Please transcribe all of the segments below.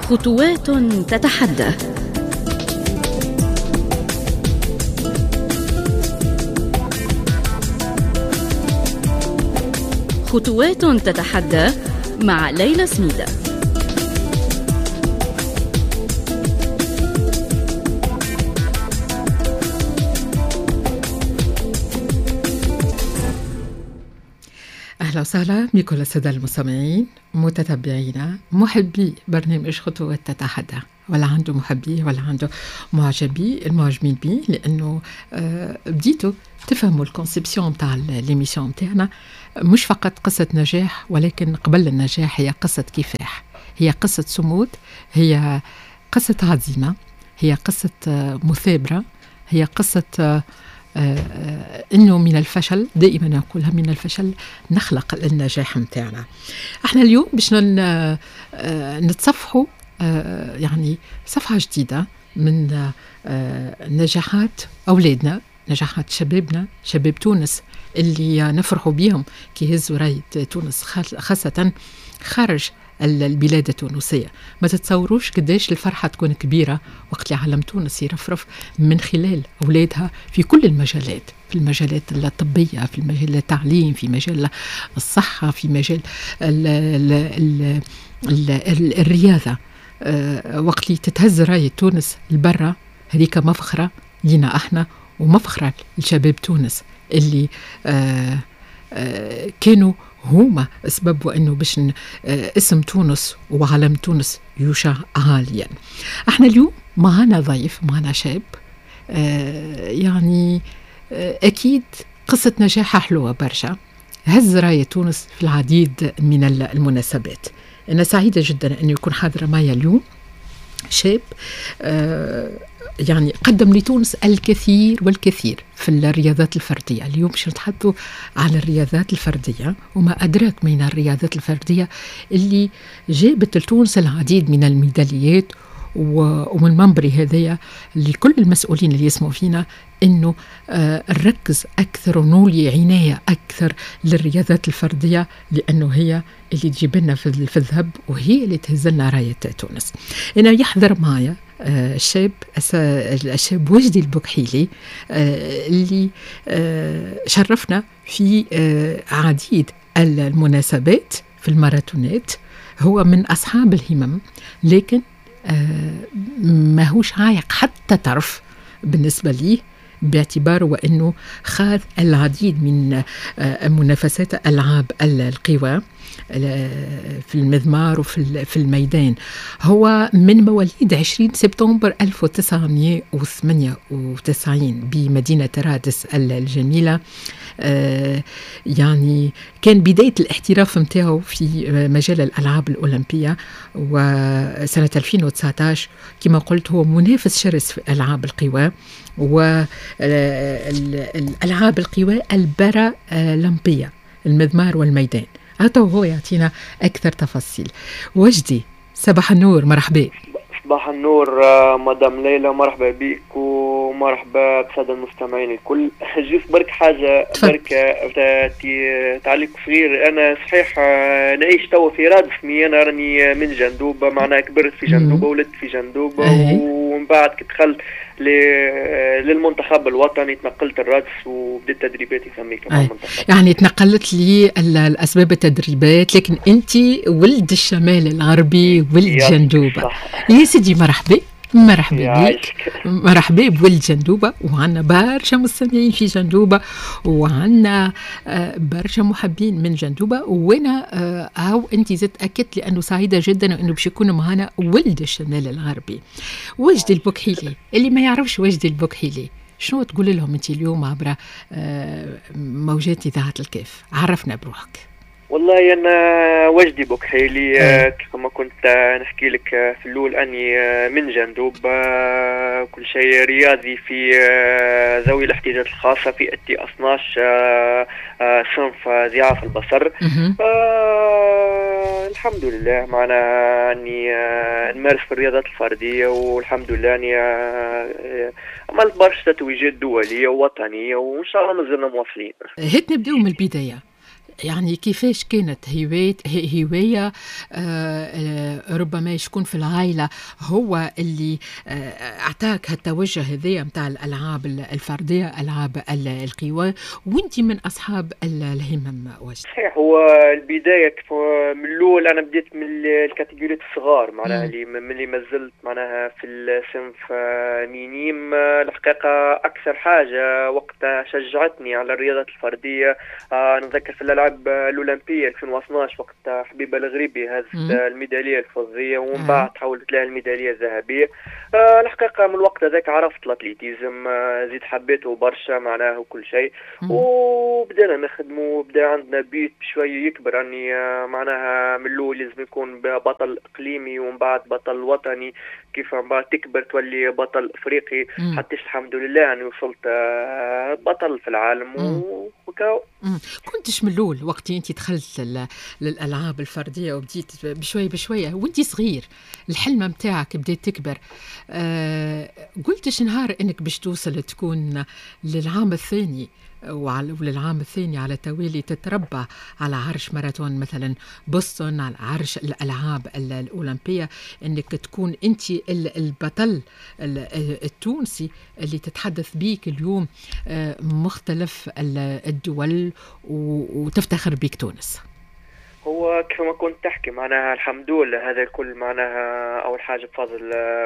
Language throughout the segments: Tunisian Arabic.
خطوات تتحدى. خطوات تتحدى مع ليلى سميدة. أهلا وسهلا بكل السادة المستمعين متتبعينا محبي برنامج خطوات تتحدى، ولا عنده محبيه ولا عنده معجبي المعجبين بيه، لأنه بديتوا تفهموا ال conception تاع l'émission تاعنا مش فقط قصة نجاح، ولكن قبل النجاح هي قصة كفاح، هي قصة صمود، هي قصة عزيمة، هي قصة مثابرة، هي قصة انه من الفشل، دائما نقولها من الفشل نخلق النجاح متاعنا. احنا اليوم باش نتصفحوا يعني صفحة جديدة من نجاحات أولادنا، نجاحات شبابنا، شباب تونس اللي نفرحوا بيهم كي يهزوا راية تونس خاصة خارج البلاد التونسية. ما تتصوروش قداش الفرحة تكون كبيرة وقت اللي علم تونس يرفرف من خلال أولادها في كل المجالات، في المجالات الطبية، في المجال التعليم، في مجال الصحة، في مجال ال ال ال ال الرياضة. وقت اللي تتهز راية تونس لبرا، هذيك مفخرة لينا احنا ومفخرة لشباب تونس اللي كانوا هما سبب وانه باش اسم تونس وعلم تونس يشع عاليا. احنا اليوم معنا ضيف، معنا شاب يعني اكيد قصة نجاحه حلوة برشا، هز راية تونس في العديد من المناسبات. انا سعيدة جدا انه يكون حاضر معي اليوم شاب يعني قدم لتونس الكثير والكثير في الرياضات الفردية. اليوم باش نتحدثوا على الرياضات الفردية وما أدراك من الرياضات الفردية اللي جابت لتونس العديد من الميداليات، ومن منبري هذايا لكل المسؤولين اللي يسمعوا فينا انه نركز اكثر ونولي عناية اكثر للرياضات الفردية، لانه هي اللي تجيب لنا في الذهب وهي اللي تهز لنا رايه تونس. انا يحضر معايا الشاب وجدي البوكحيلي اللي شرفنا في عديد المناسبات في الماراثونات. هو من اصحاب الهمم، لكن ماهوش عايق حتى طرف بالنسبة ليه، باعتباره وأنه خاض العديد من منافسات ألعاب القوى في المضمار وفي الميدان. هو من مواليد 20 سبتمبر 1998 بمدينة رادس الجميلة. يعني كان بداية الاحتراف متاعه في مجال الألعاب الأولمبية، وسنة 2019 كما قلت هو منافس شرس في ألعاب القوى والألعاب القوى البارالمبية، المضمار والميدان. هذا هو يعطينا أكثر تفاصيل. وجدي صباح النور، مرحبا. صباح النور مدام ليلى، مرحبا بك ومرحبا بسادة المستمعين الكل. juste برك حاجة برك تعليق صغير. أنا صحيح نعيش توا في رادس، أنا راني من جندوبة، معناها كبرت في جندوبة، ولدت في جندوبة، ومن بعد كي دخلت للمنتخب الوطني تنقلت الرادس وبدأت تدريباتي ثميك مع المنتخب. يعني تنقلت لي الأسباب التدريبات، لكن أنت ولد الشمال الغربي، ولد جندوبة. يا سيدي مرحبا، مرحبا بك، مرحبا بولد جندوبة. وعندنا برشا مستمعين في جندوبة، وعندنا برشا محبين من جندوبة. وانا هاو انت زدت اكدت لانه سعيدة جدا انه باش يكون معنا ولد الشمال الغربي وجدي البوكحيلي. اللي ما يعرفش وجدي البوكحيلي شنو تقول لهم انت اليوم عبر موجات اذاعة الكاف؟ عرفنا بروحك. والله أنا وجدي بوكحيلي، كما كنت نحكي لك في الأول أني من جندوب، كل شيء رياضي في ذوي الاحتياجات الخاصة في التي 12 صنف ضعاف البصر. الحمد لله معنا أني نمارس في الرياضات الفردية، والحمد لله أني عملت برشا تتويجات دولية ووطنية، وإن شاء الله مازلنا مواصلين. هات نبداو من البداية. يعني كيفاش كانت هواية ربما يكون في العائلة هو اللي أعطاك هالتوجه هذايا متاع الألعاب الفردية، ألعاب القوى، وانت من أصحاب الهمم وجدي. صحيح، هو البداية من الأول أنا بديت من ال catégories الصغار، معناها اللي من اللي مازلت معناها في الصنف minime. الحقيقة أكثر حاجة وقتها شجعتني على الرياضات الفردية، نتذكر في الألعاب الأولمبية 2012 وقت حبيبة الغريبي هزت الميدالية الفضية ومن بعد تحولت لها الميدالية الذهبية. الحقيقة من الوقت هذاك عرفت l'athlétisme، زيد حبيته برشا معناه وكل شيء، وبدأنا نخدمه وبدا عندنا but بشوية يكبر، أني معناها من الأول لازم يكون بطل إقليمي ومن بعد بطل وطني، كيف من بعد تكبر تولي بطل افريقي، حتى الحمد لله يعني وصلت بطل في العالم. وكاو كنتش من الاول وقت انت دخلت للالعاب الفردية وبديت بشوية بشوية وانت صغير، الحلمة متاعك بديت تكبر، قلتش نهار انك باش توصل تكون للعام الثاني وللعام الثاني على توالي تتربى على عرش ماراثون مثلا بوسطن، على عرش الألعاب الأولمبية، أنك تكون أنت البطل التونسي اللي تتحدث بيك اليوم مختلف الدول وتفتخر بيك تونس؟ هو كما كنت تحكي معناها الحمد لله هذا الكل معناها أول حاجة بفضل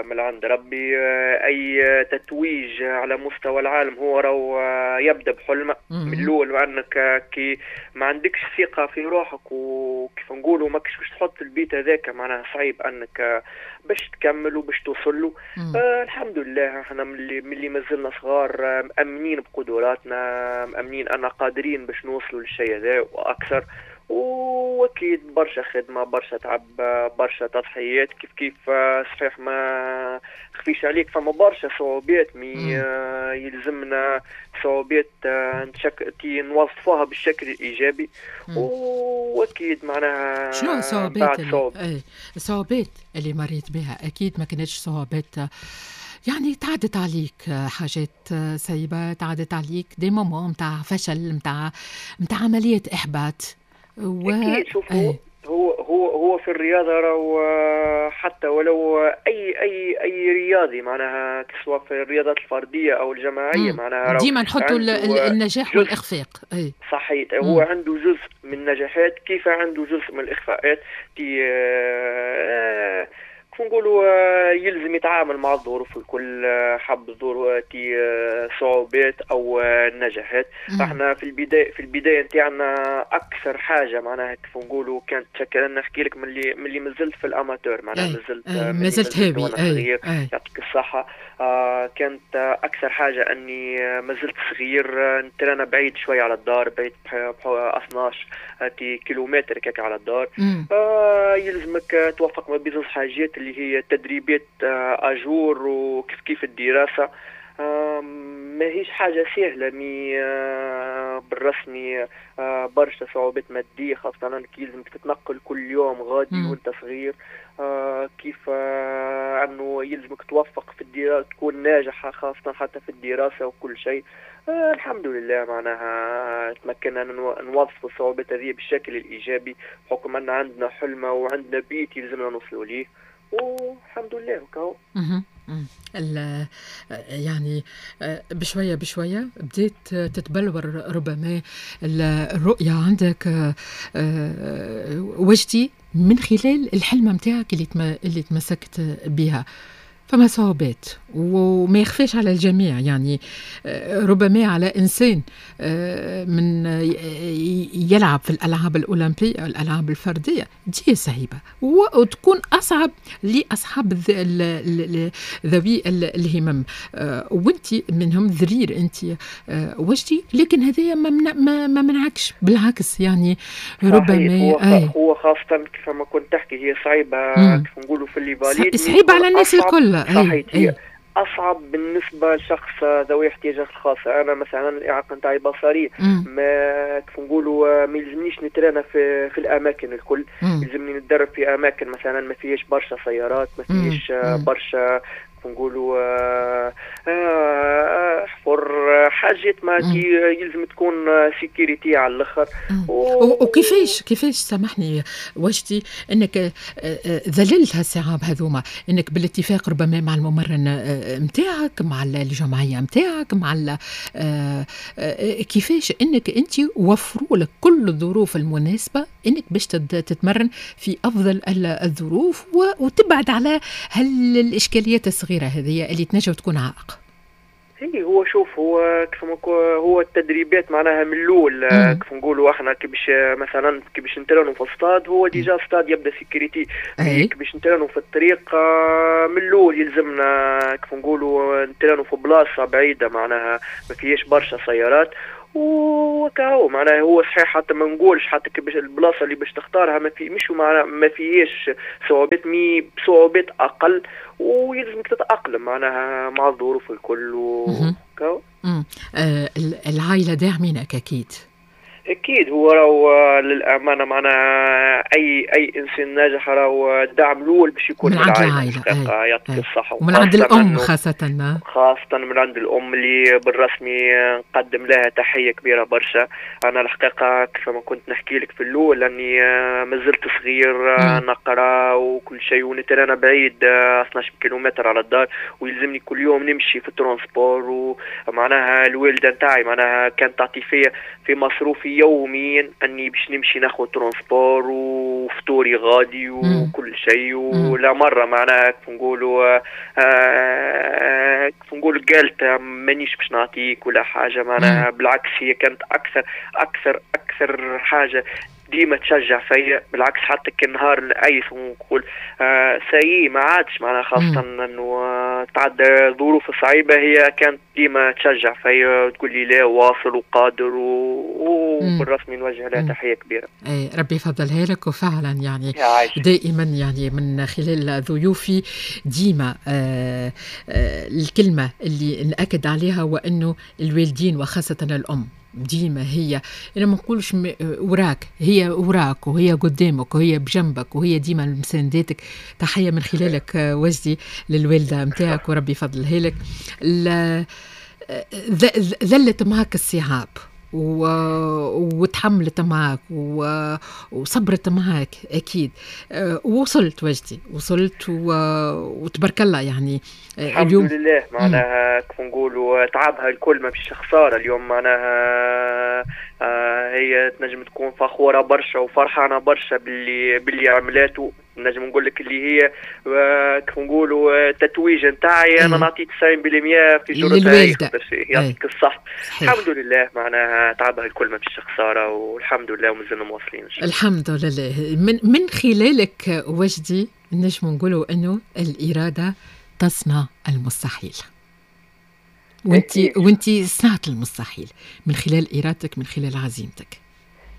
من عند ربي. أي تتويج على مستوى العالم هو راهو يبدأ بحلمة من الأول، وأنك كي ما عندكش ثقة في روحك وكيف نقولوا ماكش باش تحط ال but هذاك، معناها صعيب أنك باش تكمل وباش توصل له. الحمد لله احنا من اللي مازلنا صغار مأمنين بقدراتنا، مأمنين أن قادرين باش نوصلوا للشيء هذا وأكثر، واكيد برشا خدمة، برشا تعب، برشا تضحيات. كيف كيف صحيح ما خفيش عليك فما برشا صعوبات، mais يلزمنا صعوبات نوظفوها بالشكل الايجابي. واكيد معناها شنو الصعوبات الصعوبات اللي مريت بها؟ اكيد ما كانتش صعوبات يعني تعدت عليك حاجات صعيبة، تعدت عليك des moments متاع فشل، متاع عملية احباط. أكيد. شوف هو هو هو في الرياضة راهو حتى ولو أي أي أي رياضي معناها سواء في الرياضات الفردية أو الجماعية معناها ديما نحطوا النجاح والإخفاق. أي صحيح، هو عنده جزء من النجاحات كيف عنده جزء من الإخفاقات. نقولوا يلزم يتعامل مع الظروف الكل، حب الظروف صعوبات او نجاحات. احنا في البداية نتاعنا اكثر حاجة معناها كيف نقولوا كانت تشكل، نحكي لك من اللي مازلت في ال amateur معناها مازلت هاوي صغير، يعطيك الصحة. كانت اكثر حاجة اني مازلت صغير، نترانا بعيد شوية على الدار، بعيد 12 كيلومتر كاك على الدار. يلزمك توفق ما بين حاجات اللي هي تدريبات à jour وكيف كيف الدراسة. ماهيش حاجة سهلة، mais بالرسمي برشا صعوبات مادية، خاصة انك يلزمك تتنقل كل يوم غادي وانت صغير. كيف انه يلزمك توفق في الدراسة، تكون ناجحة خاصة حتى في الدراسة وكل شيء. الحمد لله معناها تمكنا نوظف الصعوبات هذه بالشكل الإيجابي، بحكم أن عندنا حلمة وعندنا بيت يلزمنا نوصلوا ليه، والحمد لله وكاو. يعني بشوية بشوية بديت تتبلور ربما الرؤية عندك وجدي من خلال الحلمة متاعك اللي تمسكت بها. فما صعوبات وما يخفاش على الجميع، يعني ربما على إنسان من يلعب في الألعاب الأولمبية الألعاب الفردية دي صعيبة، وتكون أصعب لأصحاب ذوي الهمم، وانت منهم ذرير انت وجدي، لكن هذا ما منعكش، بالعكس يعني ربما هو خاصة كيف ما كنت تحكي هي صعيبة كيف نقولوا في les valides، صعيبة على الناس الكل. صحيح، هي أصعب بالنسبة لشخص ذوي احتياجات خاصة. أنا مثلا الإعاقة نتاعي بصرية، ما كيف نقولوا ما يلزمنيش نترانا في الأماكن الكل، يلزمني نتدرب في أماكن مثلا ما فيهاش برشا سيارات، ما فيهاش برشا كيف نقولوا حفر، حاجات ما يلزم تكون sécurité على الاخر. وكيفاش سامحني وجدي انك ذللت هالصعاب هذوما، انك بالاتفاق ربما مع الممرن نتاعك، مع الجمعية نتاعك، مع كيفاش انك انت وفروا لك كل الظروف المناسبة انك باش تتمرن في افضل الظروف وتبعد على هالاشكاليات الصغيرة هذه اللي تنجم تكون عائق. هي هو شوف، هو كيف هو التدريبات معناها من الاول كيف نقولوا احنا، كي باش مثلا كي باش نترانوا في الستاد، هو déjà stade يبدا sécurité، كي باش نترانوا في الطريق من الاول يلزمنا كيف نقولوا نترانوا في بلاصة بعيدة معناها ما فيهاش برشا سيارات وكاهو. معناها هو صحيح حتى ما نقولش حتى كي باش البلاصة اللي باش تختارها ما في مش معناها ما فيهاش صعوبات، mais بصعوبات اقل، ويلزمك تتاقلم معناها مع الظروف الكل وكاهو. العائلة داعمينك اكيد. اكيد، هو راهو للامانة معناها اي انسان ناجح راهو الدعم الاول باش يكون من عند العائلة، يعطيك الصحة، ومن عند الام خاصة من عند الام اللي بالرسمي نقدم لها تحية كبيرة برشا. انا الحقيقة كيف ما كنت نحكي لك في الاول اني مازلت صغير نقرا وكل شيء، ونترانا بعيد 12 كيلومتر على الدار، ويلزمني كل يوم نمشي في ال transport، ومعناها الوالدة نتاعي معناها كانت تعطي فيا في مصروفي يوميا اني باش نمشي ناخذ transport وفطوري غادي وكل شيء. ولا مرة معناها كيف نقولوا كيف نقولوا قالت مانيش باش نعطيك ولا حاجة معناها، بالعكس هي كانت اكثر اكثر اكثر حاجة ديما تشجع فيا، بالعكس حتى كي نهار نأيس ونقول ça y est ما عادش معناها، خاصة انه تعدى ظروف صعيبة، هي كانت ديما تشجع فيا وتقول لي لا واصل وقادر، وبالرسمي نوجه لها تحية كبيرة. اي ربي يفضلها لك. وفعلا يعني دائما يعني من خلال ضيوفي ديما الكلمة اللي نأكد عليها هو انه الوالدين وخاصة الأم ديما هي، انا ما نقولش وراك، هي وراك وهي قدامك وهي بجنبك وهي ديما مسانداتك. تحية من خلالك وجدي للوالده نتاعك وربي يفضلها لك. ذلت معك الصعاب وتحملت معك وصبرت معك اكيد، ووصلت وجدي، وصلت وتبارك الله يعني الحمد لله معناها كيف نقولوا تعبها الكل ما فيش خسارة اليوم معناها. هي تنجم تكون فخورة برشا وفرحانه برشا باللي عملاته. نجم نقول لك اللي هي كيف نقولوا التتويج نتاعي انا نعطي 90% في جرتها، يعطيك الصح. الحمد لله معناها تعبها الكل ما فيش خسارة، والحمد لله ومازلنا مواصلين. الحمد لله. من خلالك وجدي نجم نقولوا انه الارادة تصنع المستحيل، وانت صنعت المستحيل من خلال ارادتك، من خلال عزيمتك.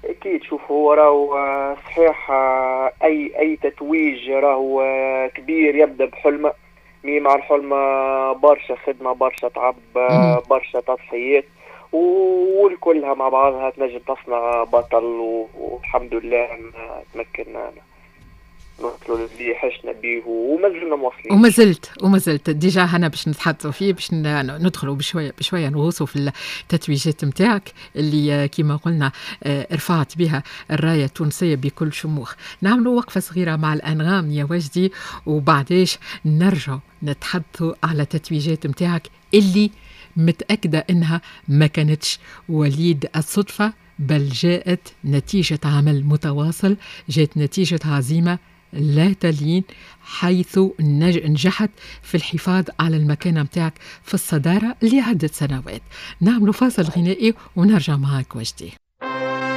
اكيد. شوف هو راهو صحيح اي تتويج راهو كبير يبدا بحلمه، mais مع الحلمة برشا خدمة، برشا تعب، برشا تضحيات، والكلها مع بعضها تنجم تصنع بطل. والحمد لله تمكنا نوصلوا اللي حشنا به ومازلنا مواصلين. ومازلت déjà هنا باش نتحدثوا فيه، باش ندخلوا بشوية بشوية نغوصوا في التتويجات نتاعك اللي كما قلنا رفعت بها الراية التونسية بكل شموخ. نعملوا وقفه صغيرة مع الانغام يا وجدي، وبعديش نرجع نتحدثوا على التتويجات نتاعك اللي متاكدة انها ما كانتش وليد الصدفة، بل جاءت نتيجة عمل متواصل، جاءت نتيجة عزيمة لا تلين، حيث نجحت في الحفاظ على المكانة متاعك في الصدارة لعدة سنوات. نعمل فاصل غنائي ونرجع معك وجدي.